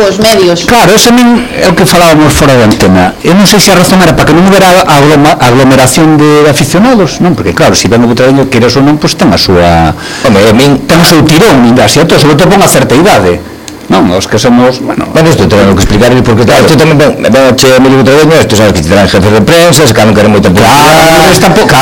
convocou os medios. Claro, ese é o que falábamos fora da antena. Eu non sei se a razón era para que non houbera aglomeración de aficionados, non? Porque claro, se ven o Butragueño, queres ou non, pois ten a súa... ten o seu tirón, sobre todo con a certa idade. Non, os que somos, bueno, isto tengo que explicar porque claro, isto tamén ven a che Emilio Butragueño, isto sabes que tendrán jefes de prensa, se non queren moita publicidade,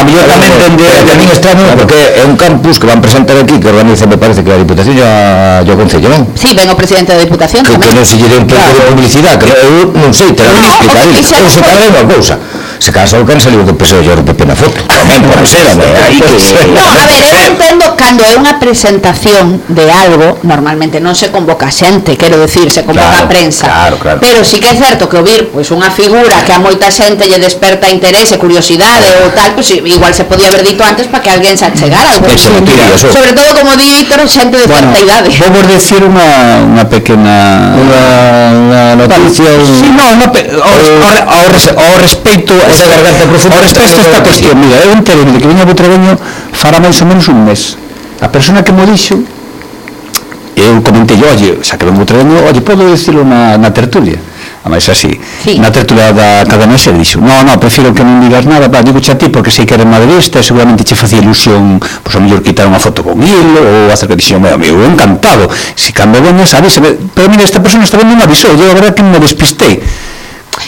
yo tamén entendí, a mí extraño porque é un campus que van presentar aquí, que organiza, me parece que a Diputación e o Concello, non? Sí, ven o presidente da Diputación tamén. Que non se lle dé un pouco de publicidade, que eu non sei, te lo voy a explicar, ou se cada unha cousa. Se caso que han salido do PSOE e do PP na foto, tamén por ser, aí que... No, a ver, eu entendo cando é unha presentación de algo, normalmente non se convoca xente, quero decir, se convoca a prensa, pero sí que é certo que ouvir pois unha figura que a moita xente lle desperta interese, curiosidade ou tal, pois igual se podía haber dito antes para que alguén se achegara algo. Sobre todo, como di Víctor, xente de certa idade. Vou decir unha pequena... Unha noticia... Sí, non, ao respeito... Ao respecto esta cuestión, mira, eu entendo de que viña Butragueño fará máis ou menos un mes. A persona que mo dixo, eu comentei, oye, xa que ven Butragueño, oye, podo dicirlo na tertulia? A máis así, na tertulia da cadena se dixo, no, prefiro que non digas nada, digo xa ti porque sei que eres madridista e seguramente che facía ilusión, pois a mellor quitar unha foto con il ou hacer que dixo, meu amigo, encantado, se cando veñas, avísame, pero mira, esta persona está vendo me avisou, eu a verdad que me despistei.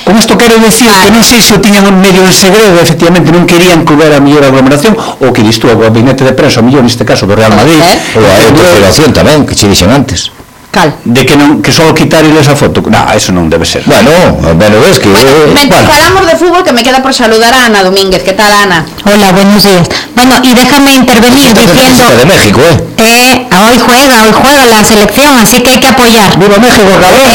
Con isto quero dicir que non sei se o tiñan medio en segredo, efectivamente non querían que houbera a mellor aglomeración, ou que disto, o gabinete de prensa, o mellor neste caso do Real Madrid, ou a federación tamén, que che dixen antes. Cal? De que non, que só quitar esa foto. Eso non debe ser. Bueno, ves que... Falamos de fútbol, que me queda por saludar a Ana Domínguez. ¿Qué tal, Ana? Hola, buenos días. Bueno, y déjame intervenir diciendo... de México, hoy juega la selección, así que hay que apoyar. ¡Viva México, cabrón!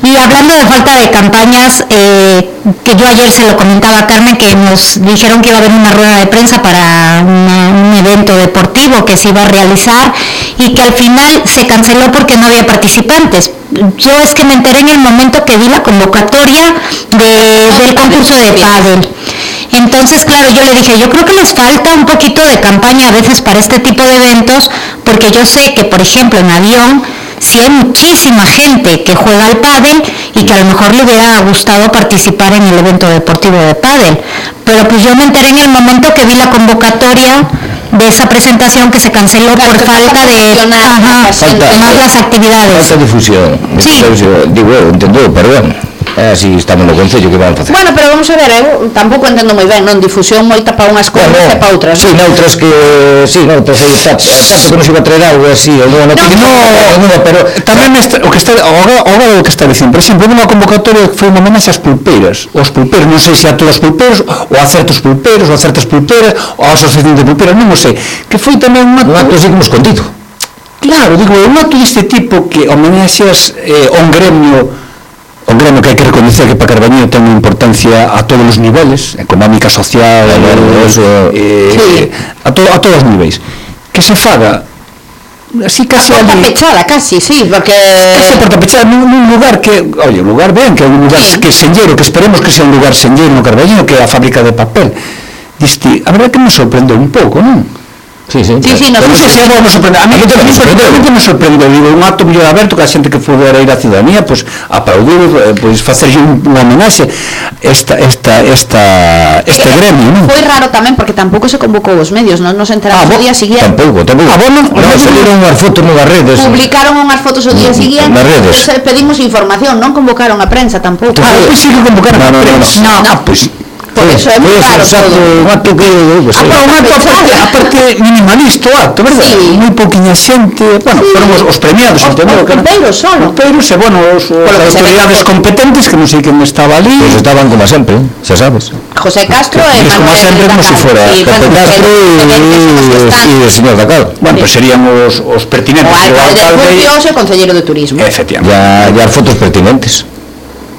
Y hablando de falta de campañas, que yo ayer se lo comentaba a Carmen, que nos dijeron que iba a haber una rueda de prensa para un evento deportivo que se iba a realizar y que al final se canceló porque no había participantes. Yo es que me enteré en el momento que vi la convocatoria del concurso de pádel. Entonces, claro, yo le dije, yo creo que les falta un poquito de campaña a veces para este tipo de eventos, porque yo sé que, por ejemplo, en avión, sí hay muchísima gente que juega al pádel y que a lo mejor le hubiera gustado participar en el evento deportivo de pádel. Pero pues yo me enteré en el momento que vi la convocatoria de esa presentación que se canceló por falta de más las actividades. Falta difusión. Sí. Digo, entendo, pero bueno. Así estamos no Concello, que van a facer. Bueno, pero vamos a ver, eu tampouco entendo moi ben, non? Difusión moita para unhas cousas e para outras. Sí, noutras que... Sí, noutras aí está. Tanto que non se iba a traer algo así, pero tamén o que está o que está dicindo, por exemplo, unha convocatoria que foi unha homenaxe ás pulpeiras. Os pulpeiros, non sei se a todos os pulpeiros, ou a certos pulpeiros, ou a certas pulpeiras, ou a asociación de pulpeiras, non o sei. Que foi tamén un acto así como escondido. Claro, digo, un acto deste tipo que homenaxeas un gremio que hai que reconocer que para Carballiño ten unha importancia a todos os niveles, económica, social, a todos os niveis, que se faga así casi a porta pechada, casi, sí, porque casi a porta pechada nun lugar que, oye, un lugar ben, que é un lugar que é senlleiro, que esperemos que sea un lugar senlleiro no Carballiño, que é a fábrica de papel. Diste, a verdade que me sorprendeu un pouco, non? Sí, non sei se vamos a sorprender. A mí me sorprendeu, digo, un acto mellor aberto que a xente que fodera ir á ciudadanía, pois aplaudir, pois facerlle unha homenaxe este gremio, non? Foi raro tamén porque tampouco se convocou os medios, non nos enteramos o día seguinte. Tampouco. Salieron unhas fotos nas redes. Publicaron unhas fotos o día seguinte. Nas redes. Pedimos información, non convocaron a prensa tampouco. Pois sí que convocaron a prensa. Non, pois por eso é moi raro todo. Un acto que aparte minimalista o acto, verdad? Sí. Moi pouquiña xente, bueno, foron os premiados, entendo? Os pulpeiros solo. Os pulpeiros e, bueno, as autoridades competentes, que non sei quen estaba ali. Pois estaban como sempre, xa sabes. José Castro e Manuel como sempre, como se fora José Castro e o señor Dacal. Bueno, pois serían os pertinentes. O alcalde de Burcios e o concelleiro de turismo. Efectivamente. E as fotos pertinentes.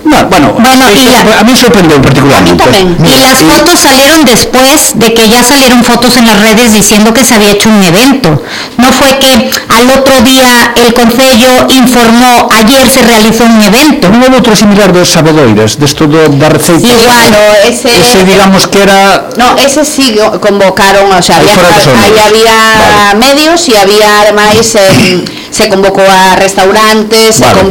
Bueno, a mí sorprendió particularmente. Y las fotos salieron después de que ya salieron fotos en las redes diciendo que se había hecho un evento. No fue que al otro día el concello informó, ayer se realizó un evento. Non houve outro similar dos sabedoiras, desto da receita. Igual, ese digamos que era... No, ese sí convocaron, o sea, ahí había medios y había además... se convocou a restaurantes, se convocou